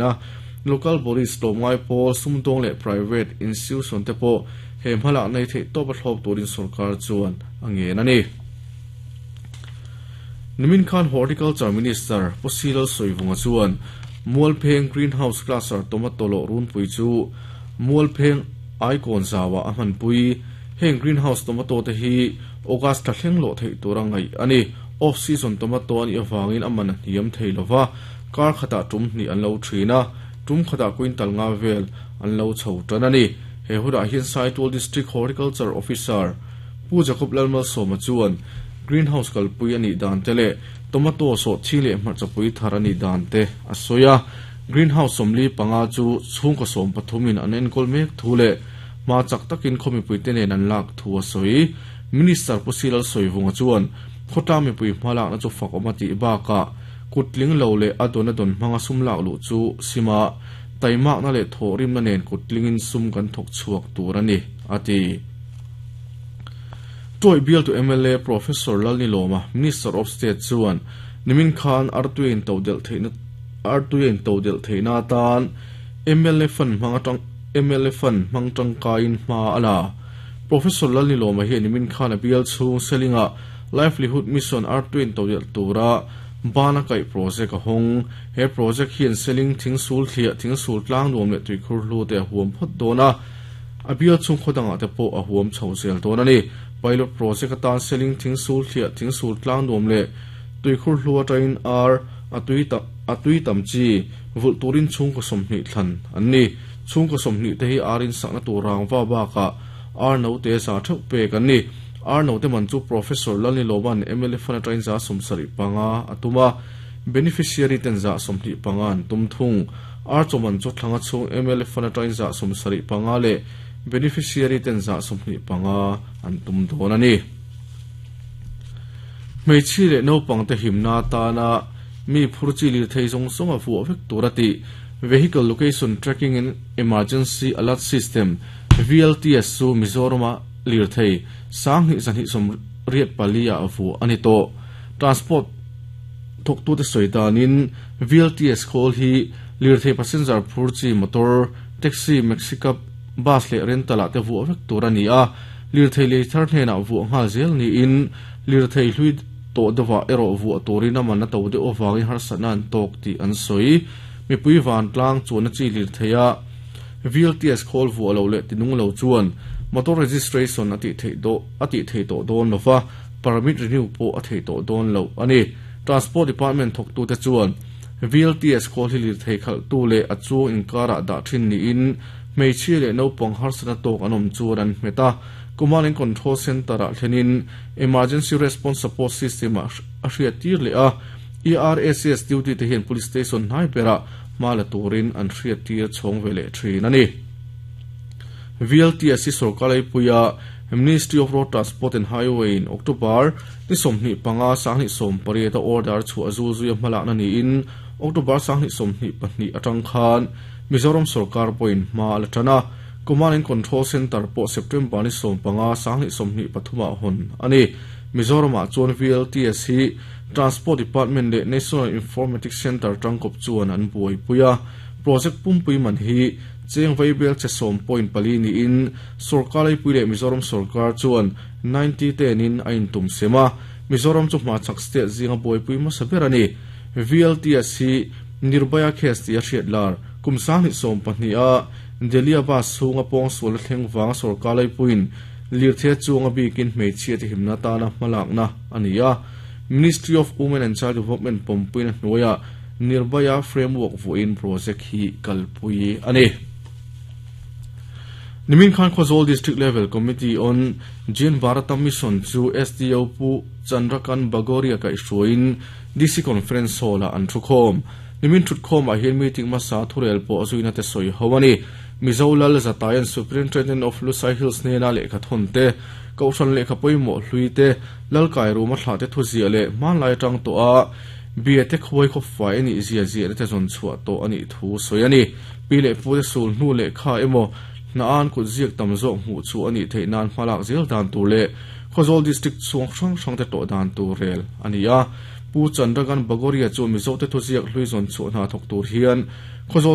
A, Local bodies tlawmngai pawl, sumdawng leh private institution te pawh he hmalak nei theih tawp a thlawp turin sorkar chuan a ngen a ni. Nimin khan Horticulture Minister Pu Silal Sawivunga chuan Mualpheng Greenhouse Cluster Tomato lawh runpui chu Mualpheng Aikawn zauah a hmanpui. Heng greenhouse tomato te hi August thla thleng lawh theih tura ngaih a ni. Off season tomato a nih avangin a man a hniam thei lova. Kar khatah tum hnih an lo thin a, tum khatah quintal nga vel an lo chho tan a ni. He hunah hian Saitual District Horticulture Officer Pu Jacob Lalmalsawma chuan Greenhouse kalpui a nih dan te leh tomato sawhthing leh hmarchapui thar a nih dan te a sawi a. Greenhouse 45 chu chhungkaw 13 in an enkawl mek thu leh hma chak takin khaw mipuite nen an lak thu a sawi. Minister Pu Silal Sawivunga chuan khawtlang mipui hmalakna chu fak awm a tih bakah, Kut tling lo leh a dawn a dawn hmanga sum lak luh chu sima taimakna leh thawhrimna nen kut tlingin sum kan thawk chhuak tur a ni, a ti. Tuai bialtu mla Professor Lalnilawma, Minister of State chuan nimin khan artui a intodelh theihna artui a intodelh theihna atan mla fund hmang atang mla fund hmang tangkaiin hma a la. Professor Lalnilawma hian nimin khan a bial chhung Selingah Livelihood Mission artui intodelh tura Bana kaih project a hawng. He project hian Seling thingsul thliah, thingsul tlang nuam leh tuikhur hlu te a huam phawt dawn a, a bial chhung khaw dangah te pawh a huam chho zel dawn a ni. Pilot project atan Seling thingsul thliah, thingsul tlang nuam leh tuikhur hlu atangin ar a tui tam a tui tam chi vulh turin chhungkaw 20 thlan an ni. Chhungkaw 20 te hi ar insakna tur rangva bakah ar note za theuh pek an ni. Ar note man chu Professor Lalnilova'n mla fund atangin 75 a tum a, beneficiary ten 25 an tum thung. Ar chaw man chu thlanga chhung mla fund atangin 75 leh beneficiary ten 25 an tum dawn a ni. Hmeichhia leh naupangte himna atana mi phur chi lirthei zawng zawng a vuah vek tur a tih Vehicle Location Tracking and Emergency Alert System, VLTS, chu Mizorama Lirthei 2284 ah vuah a ni tawh. Transport thawktute sawi danin VLTS khawl hi lirthei passenger phur chi motor, taxi, maxi cab, bus leh rental ah te vuah vek tur a ni a. Lirthei lei thar hnenah vuah nghal zel niin lirthei hlui tawh deuhah erawh vuah turin a man a to deuh avangin harsatna an tawk tih an sawi. Mipui vantlang chuanna chi lirthei a. VLTS khawl vuah lo leh tinung lo chuan motor registration a tih theih dawh a tih thei tawh dawn lo va, permit renew pawh a thei tawh dawn lo a ni. Transport Department thawktute chuan VLTS khawl hi lirthei khalhtu leh a chuang inkarah dah thin niin hmeichhia leh naupang harsatna tawk an awm chuan an hmet a, Command and Control Centre-ah thlenin Emergency Response Support System-ah a hriattir leh a, ERSS duty te hian Police Station hnai berah hma la turin an hriattir chhawng ve leh thin a ni. VLTS hi sorkar leipuia Ministry of Road Transport and Highway in October ni 25 2018 a order chhuah zul zuia hmalakna niin October 2022 atang khan Mizoram sorkar pawhin hma a la tan a, Command and Control Centre pawh September ni 15 2023 ah hawn a ni. Mizoramah chuan VLTS hi Transport Department leh National Informatics Centre tangkawp chuan an buaipui a. Project pumpui man hi cheng vaibel che 10.4 niin sorkar leipui leh Mizoram sorkar chuan 90 tenin a intum sem a. Mizoram chu hmachhak state zinga buaipui hmasa ber a ni. VLTS hi Nirbhaya case tih a hriat lar kum 2012 a Delhi-a bus chhunga pawngsual a thleng vanga sorkar leipuiin lirthei a chuang a bikin hmeichhia te himna atana hmalakna a ni a. Ministry of Women and Child Development pawmpuina hnuaiah Nirbhaya Framework vuahin project hi kalpui a ni. Nimin khan Khawzawl District Level Committee on Jane Bharata Mission chu SDO Pu Chandrakan Bagoria kaihhruaiin DC Conference Hall-ah an thukhawm. Nimin thutkhawmah hian meeting hmasa thurel pawh zuina te sawi ho a ni. Mizo Lal Zatayan Superintendent of Lusai Hills hnena lehkha thawn te, Kohhran lehkha pawimawh hlui te, Lalkai rum a thlah te thu ziah leh hmanlai atang tawh a bia te khuai khawp fai a nih zia ziahna te zawn chhuah tawh a nih thu sawi a ni. Pi leh pu te sul hnu lehkha emaw hna an kut ziak tam zawk hmuh chu a nih theih nan hmalak zel dan tur leh Khawzawl District chhung hrang hrang te tawh dan tur rel a ni a. Pu Chandragan Bagoria chu Mizo te thuziak hlui zawn chhuah hna thawk tur hian Khawzawl.